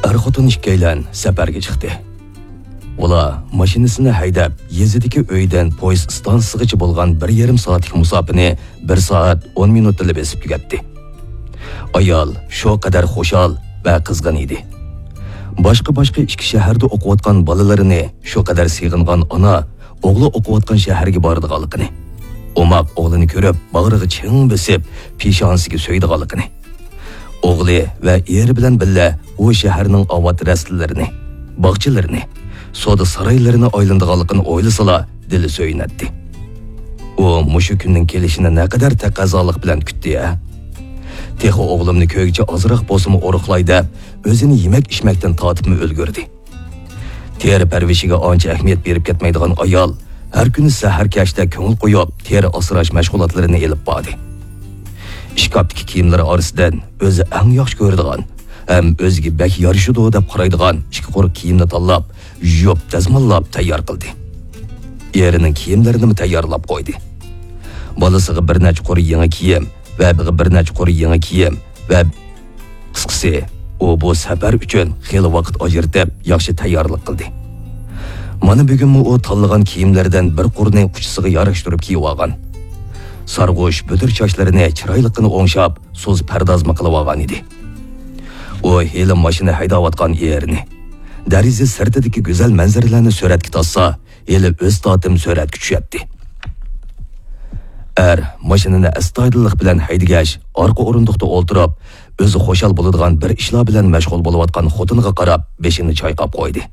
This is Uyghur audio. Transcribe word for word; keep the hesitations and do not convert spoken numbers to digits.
ئەر-خوتۇن ئىككىيلەن سەپەرگە چىقتى. ئۇلار ماشىنىسىنى ھەيدەپ، يېزىدىكى ئۆيدىن پويىز ئىستانسىسىغىچە بولغان بىر يېرىم سائەتلىك مۇساپىنى بىر سائەت ئون مىنۇتتىلا بېسىپ تۈگەتتى. ئايال شۇ قەدەر خۇشال ۋە قىزغىن ئىدى. باشقا-باشقا ئىككى شەھەردە ئوقۇۋاتقان بالىلىرىنى شۇ قەدەر سېغىنغان ئانا ئوغلى ئوقۇۋاتقان شەھەرگە بارىدىغانلىقىنى، ئوماق ئوغلىنى كۆرۈپ، باغرىغا چىڭ بېسىپ، پېشانىسىگە سۆيىدىغانلىقىنى، ئوغلى ۋە ئېرى بىلەن بىللە ئۇ شەھەرنىڭ ئاۋات رەستىلىرىنى، باغچىلىرىنى، سودا سارايلىرىنى ئايلىنىدىغانلىقىنى ئويلىسىلا، دىلى سۆيۈنەتتى. ئۇ مۇشۇ كۈننىڭ كېلىشىنى نەقەدەر تەقەززالىق بىلەن كۈتتى ھە. تېخى ئوغلۇمنى كۆيگۈچە ئازراق بولسىمۇ ئورۇقلاي دەپ، ئۆزىنى يېمەك-ئىچمەكتىن تارتىپمۇ ئۈلگۈردى. تېرە پەرۋىشىگە ئانچە ئەھمىيەت بېرىپ كەتمەيدىغان ئايال ھەر كۈنى سەھەر كەچتە كۆڭۈل قويۇپ، تېرە ئاسراش مەشغۇلاتلىرىنى ئېلىپ باردى. ئىشكاپتىكى كىيىملىرى ئارىسىدىن ئۆزى ئەڭ ياخشى كۆرىدىغان ھەم ئۆزىگە بەك يارىشىدۇ دەپ قارايدىغان ئىككى قۇر كىيىمنى تاللاپ، يۇيۇپ، دەزماللاپ تەييار قىلدى. ئېرىنىڭ كىيىملىرىنىمۇ تەييارلاپ قويدى. بالىسىغا بىر نەچچە قۇر يېڭى كىيىم ۋە بىر نەچچە قۇر يېڭى كىيىم ۋە، قىسقىسى، ئۇ بۇ سەپەر ئۈچۈن خېلى ۋاقىت ئاجرىتىپ، ياخشى تەييارلىق قىلدى. مانا بۈگۈنمۇ ئۇ تاللىغان كىيىملىرىدىن بىر قۇرنى ئۇچىسىغا ياراشتۇرۇپ كىيىۋالغان. سارغۇش بۈدۈر چاچلىرىنى چىرايلىققىنا ئوڭشاپ، سۇس پەردازمۇ قىلىۋالغان ئىدى. ئۇ ھېلى ماشىنا ھەيدەۋاتقان ئېرىنى، دېرىزە سىرتىدىكى گۈزەل مەنزىرىلەرنى سۈرەتكە تارتسا، ھېلى ئۆز تارتىم سۈرەتكە چۈشەتتى. ئەر ماشىنىنى ئەستايىدىللىق بىلەن ھەيدىگەچ، ئارقا ئورۇندۇقتا ئولتۇرۇپ، ئۆزى خۇشال بولىدىغان بىر ئىشلار بىلەن مەشغۇل بولۇۋاتقان خوتۇنىغا قاراپ، بېشىنى چايقاپ قويدى.